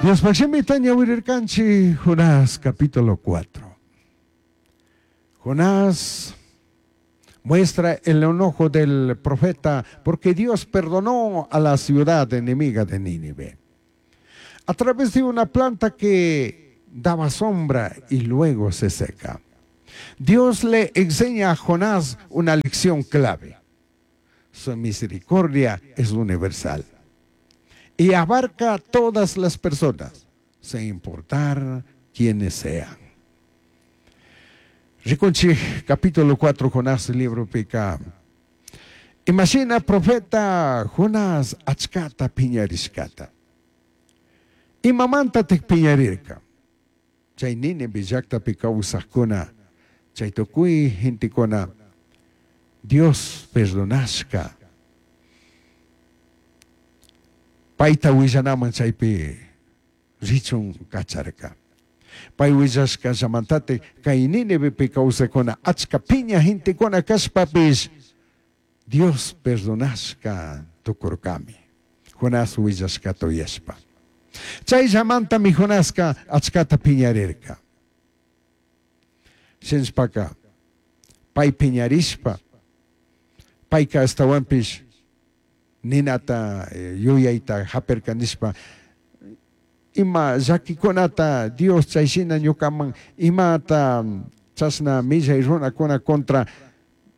Diospaj shimita ñawirirkanchik Jonás capítulo 4. Jonás muestra el enojo del profeta porque Dios perdonó a la ciudad enemiga de Nínive. A través de una planta que daba sombra y luego se seca. Dios le enseña a Jonás una lección clave. Su misericordia es universal y abarca a todas las personas, sin importar quiénes sean. Rikunchik capítulo 4 Jonás libropica. Imagina profeta Jonás achkata piñarishkata. Imamantatik piñarirka. Chay Nínive llaktapi kawsajkuna, chay tukuy gentekuna Dios perdonashka. Payta willanaman chaypi richun kacharka. Pay willashkallamantatik kay Nínivepi kawsajkuna achka piña gentekuna kashpapish Dios perdonashka tukurkami. Jonás willashkata uyashpa. Chayllamantami Jonaska achkata piñarirka. Shinashpaka pay piñarishpa payka ashtawanpish ninata yuyayta hapirka nishpa ima llakikunata Dios chayshina ñukaman imata chashna millay runakuna contra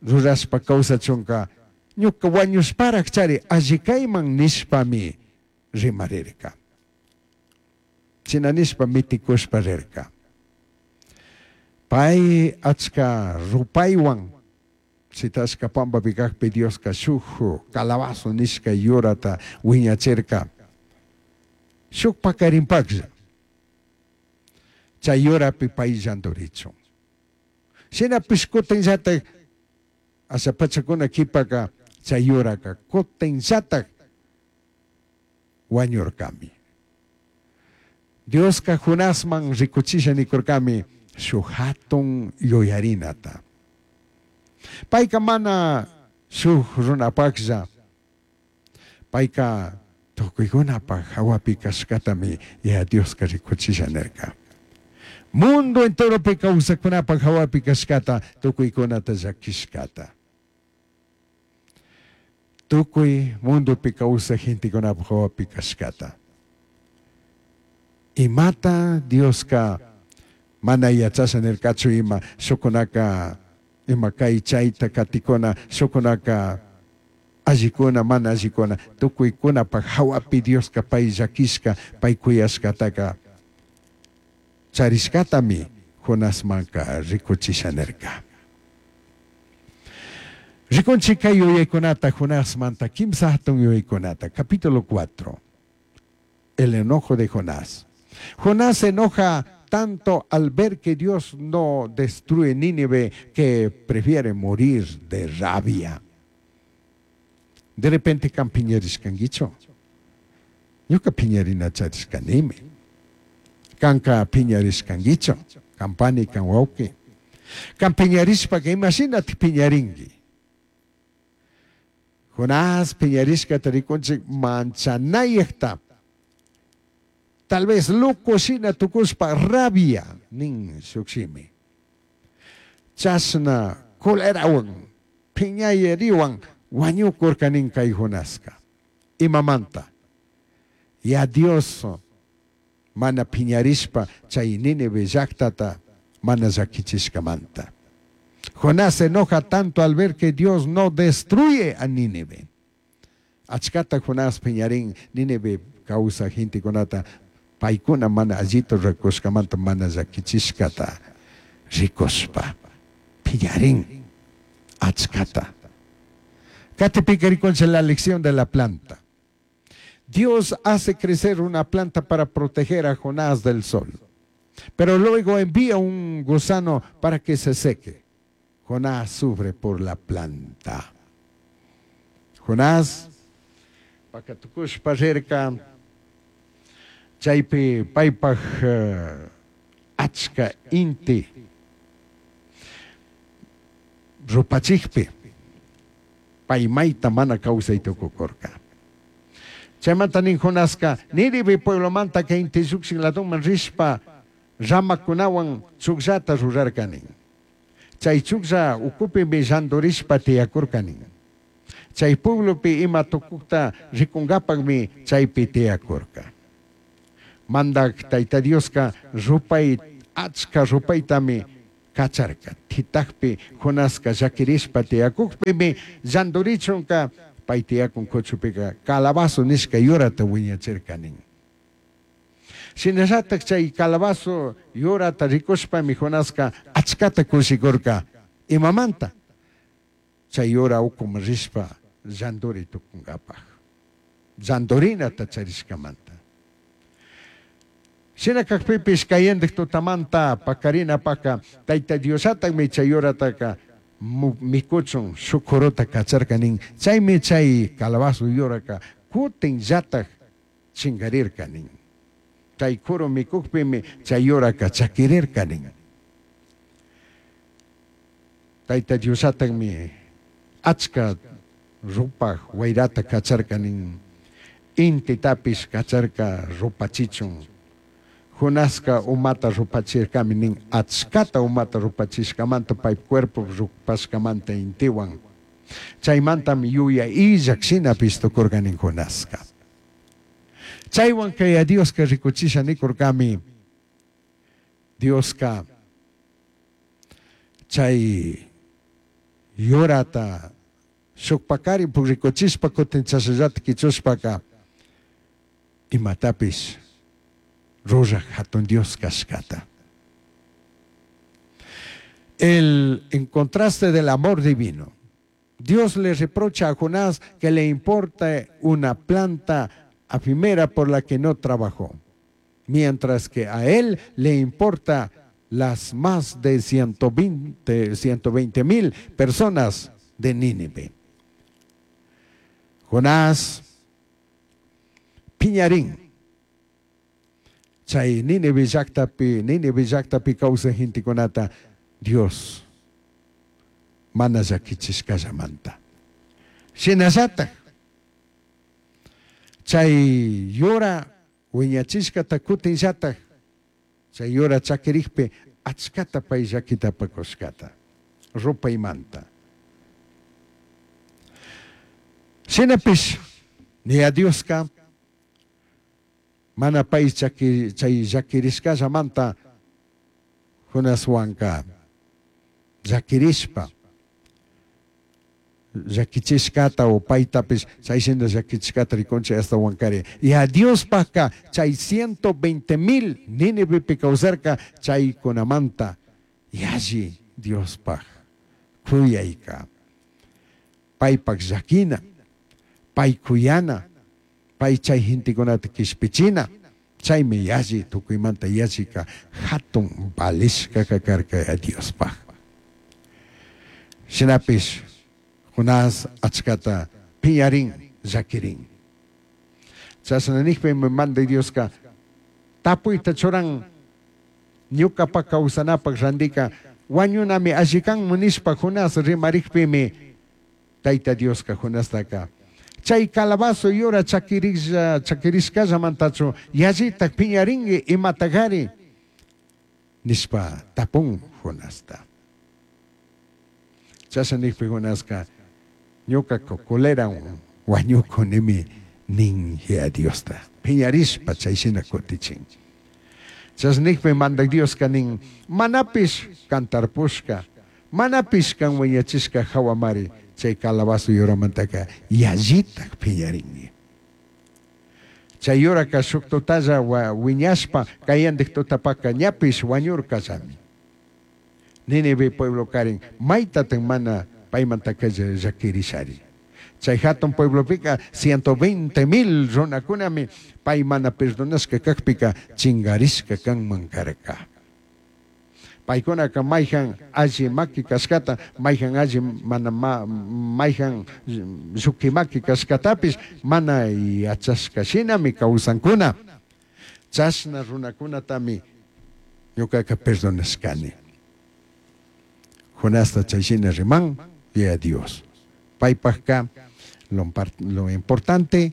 rurashpa kawsachunka ñuka wañushparak chari alli kayman nishpami rimarirka. Shina nishpa mitikushpa rirka. Pay achka rupaywan shitashka pambapi kakpi Dioska shuk calabazo nishka yurata wiñachirka. Shuk pakarinpaklla. Chay yurapi pay llanturichun. Shinapish kutinllatak asha pachakuna kipaka chay yuraka kutinllatak wañurkami. Dioska Jonasman rikuchisha nikurkami shuk hatun yuyarinata. Payka mana shuk runapaklla, payka tukuykunapak hawapi kashkatami Yaya Dioska rikuchisha nirka. Mundo enteropi kawsakkunapak hawapi kashkata tukuykunata llakishkata. Tukuy mundopi kawsaj gentekunapak hawapi kashkata. Imata Dioska mana yachasha nirkachu ima shukunaka ima kay chayta katikuna shukunaka allikuna mana allikuna tukuykunapak hawapi Dioska pay llakishka pay kuyashkataka charishkatami Jonasmanka rikuchisha nirka. Rikunchik kay yuyaykunata Jonasmanta kimsa hatun yuyaykunata. Capítulo 4. El enojo de Jonás. Jonás se enoja tanto al ver que Dios no destruye Nínive que prefiere morir de rabia. De repente kan piñarishkankichu. Ñuka piñarina charishkanimi. Kanka piñarishkankichu. Kan pani, kan wawqi. Kan piñarishpaka imashinati piñarinki. Jonás piñarishkata rikunchik manchanayakta. Tal vez loco shina tukushpa rabia nin shuk shimi. Chashna colerawan piñayeriwan wañukurka nin kay Jonaska. Imamanta. Ya Dios mana piñarishpa chay Nínive llaktata mana llakichishkamanta. Jonás se enoja tanto al ver que Dios no destruye a Nínive. Achkata Jonás piñarin Nínive kawsaj gentekunata paykuna mana allita rurakushkamanta mana llakichishkata rikushpa piñarin achkata. Katipika rikunchik la lección de la planta. Dios hace crecer una planta para proteger a Jonás del sol, pero luego envía un gusano para que se seque. Jonás sufre por la planta. Jonás, pakatukushpa rirka, chaypi paypaj achka inti rupachikpi, pay mayta mana kawsay tukukurka. Chaymanta nin Jonasca Nínive pueblomanta inti llukshin ladoman rishpa ramakunawan chukllata rurarka nin. Chay chuklla ukupimi llandurishpa tiyakurka nin. Chay pueblopi ima tukukta rikunkapakmi chaypi tiyakurka. Mandak Tayta Dioska rupay achka rupaytami kacharka. Titakpi Jonaska llakirishpa tiyakukpimi llandurichunka pay tiyakun kuchupika calabazo nishka yurata wiñachirka nin. Shinallatak chay calabazo yurata rikushpami Jonaska achkata kushikurka. Imamanta? Chay yura ukuman rishpa llanduri tukunkapaj. Llandurinata charishkamanta. Shina kakpipish kayandik tutamanta pakarinapaka Tayta Diosllatakmi chay yurataka mikuchun shuk kuruta kacharka nin. Chaymi chay calabazo yuraka kutin llatak chinkarirka nin. Chay kuru mikukpimi chay yuraka chakirirka nin. Tayta Diosllatakmi achka rupaj wayrata kacharka nin. Intitapish kacharka rupachichun. Jonaska umata rupachirkami nin achkata umata rupachishkamanta pay cuerpo rupashkamanta intiwan. Chaymantami yuya illak shinapish tukurka nin Jonaska. Chaywan kay Dioska rikuchisha nikurkami Dioska chay yurata shuk pakari rikuchishpa kutin chashallata kichushpaka imatapish ruraj hatun Dios kashkata. El, en contraste del amor divino, Dios le reprocha a Jonás que le importa una planta efímera por la que no trabajó, mientras que a él le importa las más de 120 mil personas de Nínive. Jonás piñarín. Chay Nínive llaktapi, Nínive llaktapi kawsaj gentekunata Dios mana llakichishkallamanta. Shinallatak chay yura wiñachishkata kutinllatak chay yura chakirikpi achkata pay llakitapakushkata rupaymanta. Shinapish ni a Dioska mana pay chay llakirishkallamanta Jonaswanka llakirishpa llakichishkata o paytapish chay shina llakichishkata rikunchik ashtawankari. Y a Diospajka chay 120 mil Nínivepi kawsarka chaykunamanta yalli Diospaj kuyayka. Paypak llakina, pay kuyana, pay chay gentekunata kishpichina, chaymi yalli tukuymanta yallika hatun valishkaka karka Diospaj. Shinapish Jonás achkata piñarin llakirin. Chashna nikpimi manda Dioska tapuyta churan ñukapak kawsanapak randika wañunami alli kanman nishpa Jonás rimarikpimi Tayta Dioska Jonastaka chay calabazo yura chakirishkallamantachu yallitak piñarinki imatagari nishpa tapun Jonasta. Chashna nikpi Jonaska ñuka colera wañukunimi nin Yaya Diosta piñarishpa chay shina kutichin. Chashna nikpi mandak Dioska nin manapish kan tarpushka manapish kan wiñachishka hawamari chay calabazo yuramantaka yallitak piñarinki. Chay yuraka shuk tutalla wiñashpa kayandik tutapaka ñapish wañurkallami. Nínive pueblo karin maytatak mana paymantaka llakirishari. Chay hatun pueblopika 120 mil runakunami pay mana perdonashka kakpika chingarishka kanman karka. Paykunaka mayjan alli maki kashkata, mayjan alli mana mayjan lluki maki kashkatapish mana yachashka shinami kawsankuna. Chashna runakunatami ñukaka perdonashkani. Jonasta chay shina riman, Yaya Dios. Paypajka lo importante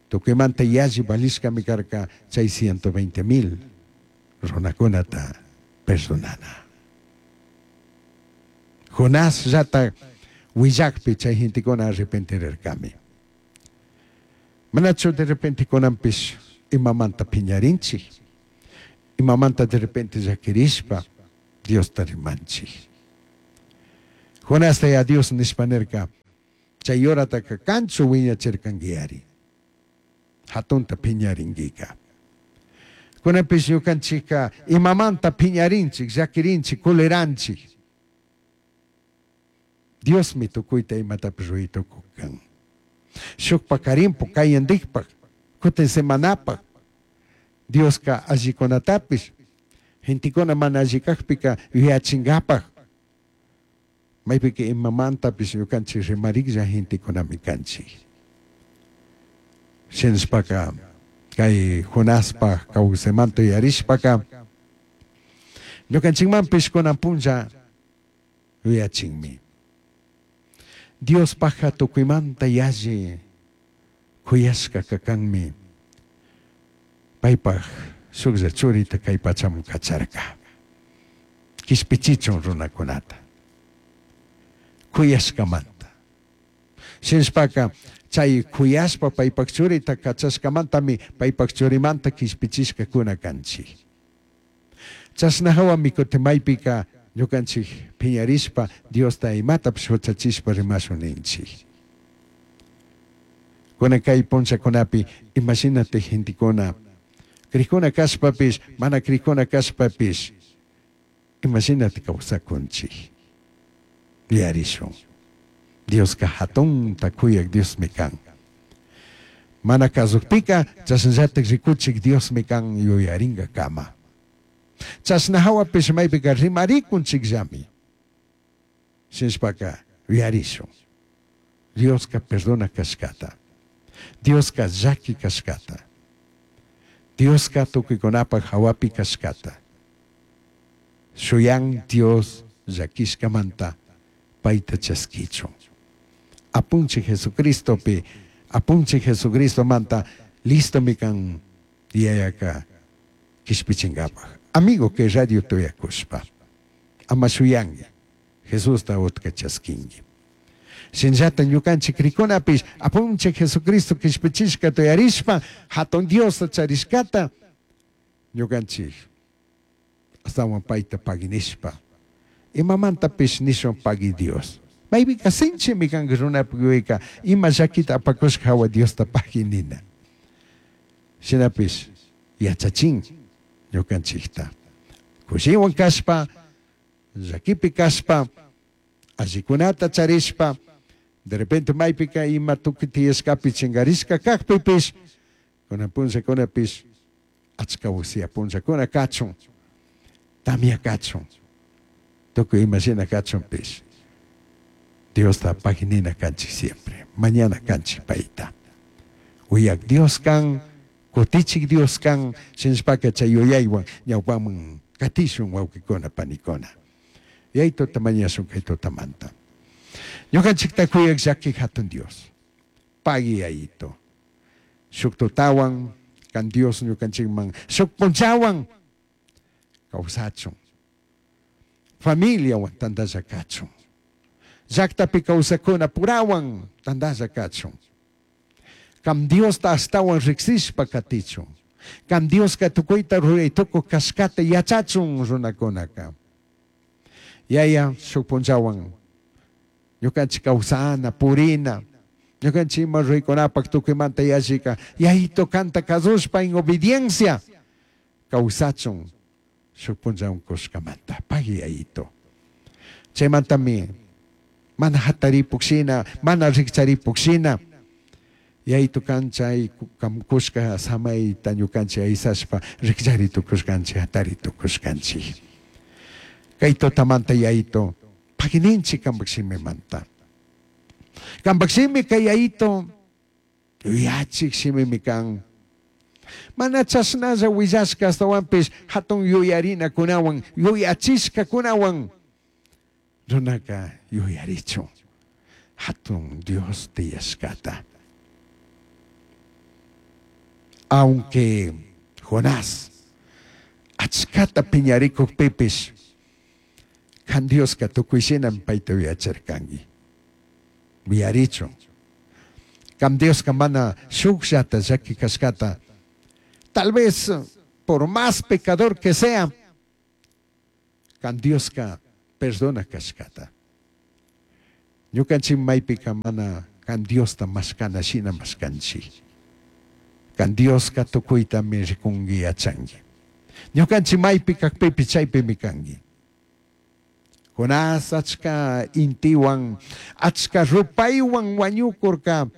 Tucuimanta yalli valishcami carca chay 120,000 runacunata perdonana. Jonás llata huillacpi chay gentecuna arrepentirircami. Manachu de repente kunanpish imamanta piñarinchik, imamanta de repente llaquirishpa Diosta rimanchik. Jonasta ya Dios nishpa nirca, chay horataka kanchu wiñachirkanguiari, hatunta piñaringuika. Kunanpish ñukanchikka imamanta piñarinchik, llaquirinchik, culeranchik. Diosmi tukuyta imatapish ruray tukukan. Shukpak karimpu kayandikpak, kutin semanapak, Dioska allikunatapish, gentekuna mana alli kakpika yuyachinkapak, maypika imamantapish ñukanchik rimariklla gentekunami kanchik. Shinashpaka kay Jonaspak kawsaymanta yuyarishpaka, ñukanchikmanpish kunan punlla yuyachinmi. Diospajka tukuymanta yalli kuyashka kakanmi paypaj shuklla churita kay pachaman kacharka. Kishpichichun runakunata. Kuyashkamanta. Shinashpaka chay kuyashpa paypaj churita kachashkamantami paypaj churimanta kishpichishkakuna kanchik. Chashna hawami kutin maypika ñukanchik piñarishpa Diosta imatapish huchachishpa rimashun ninchik. Kunan kay punllakunapi imashinatik gentekuna crikuna kashpapish mana crikuna kashpapish imashinatik kawsakunchik. Yuyarishun. Dioska hatunta kuyak Diosmi kan. Mana kasukpika chashnallatak rikuchik Diosmi kan yuyarinkakama. Chashna hawapish maypika rimarikunchikllami. Shinashpaka yuyarishun. Dioska perdona kashkata. Dioska llaki kashkata. Dioska tukuykunapak hawapi kashkata. Shuyan Dios llakishkamanta payta chaskichun. Apunchik Jesucristopi, apunchik Jesucristomanta listomi kan yayaka kishpichinkapak. Amigo que radio tuyakushpa, ama shuyangi, Jesusta utka chaskingi. Shinllata ñukanchik rikunapish apunchik Jesucristo kishpichishka tuyarishpa hatun Diosta charishkata ñukanchik astawan payta paginishpa imamantapish nishun pagui Dios. Maypika sinchimi kanka runapuk yuyayka ima llakita apakushka hawa Diosta pagui nina. Shinapish yachachin ñukanchikta. Kushiwan kashpa, llakipi kashpa, allikunata charishpa, de repente maypika ima tukuy tiyashkapi chinkarishka kakpipish, kunan punllakunapish achka usia punllakuna kachun, tamya kachun, tukuy ima shina kachunpish. Diosta paginina kanchik siempre, mañana kanchik payta. Uyak Dios kan, kutichik Dios kan, shinashpaka chay yuyaywan ñawpaman katishun wawqikuna panikuna. Yaytuta mañashun kay tutamanta. Ñukanchikta kuyak llaki hatun Dios. Pagui yayito. Shuk tutawan kan Dios ñukanchikman shuk punchawan kawsachun. Familiawan tantalla kachun. Llaktapi kawsakuna purawan tantalla kachun. Kam Diosta astawan riksishpa katichun. Kam Dioska tukuyta ruray tukuq kashkata yachachun runakunaka. Yaya shuk punchawan ñukanchik kawsana, purina, ñukanchik ima ruraykunapak tukuymanta yallika yayito kanta kasushpa en obediencia kawsachun shuk punchawan kushkamanta. Pagui yayito. Chaymantami mana hataripuk shina, mana rikcharipuk shina yayito kan chay kushka samayta ñukanchik aysashpa rikchari tukushkanchik, hatari tukushkanchik. Kay tutamanta yayito pagininchik kampak shimimanta. Kampak shimi kay yayito yuyachik shimimi kan. Mana chashnalla willashka astawanpish hatun yuyarinakunawan, yuyachishkakunawan runaka yuyarichun hatun Dios tiyashkata. Aunque Jonás achcata piñarikukpipish kan Dioska tukuy shinami payta uyacharkanki. Uyarichun. Kan Dioska mana shukllata llaki kashkata. Tal vez por más pecador que sea, kan Dioska perdona kashkata. Ñukanchik maypika mana kan Diosta mashkana shina mashkanchik. Kan Dioska tukuytami rikunki yachanki. Ñukanchik maypi kakpipish chaypimi kanki. Jonás achka intiwan, achka rupaywan wañukurka.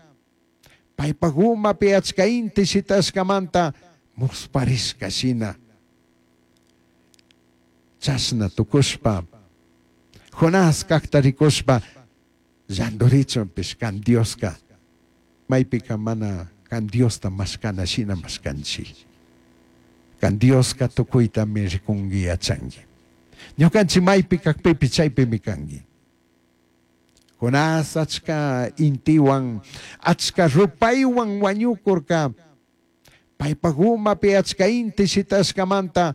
Paypak umapi achka inti shitashkamanta musparishka shina. Chashna tukushpa, Jonás kakta rikushpa llandurichunpish kan Dioska maypika mana kan Diosta mashkana shina mashkanchik. Kan Dioska tukuytami rikunki yachanki. Ñukanchik maypi kakpipish chaypimi kanki. Jonás achka intiwan, achka rupaywan wañukurka. Paypak umapi achka inti shitashkamanta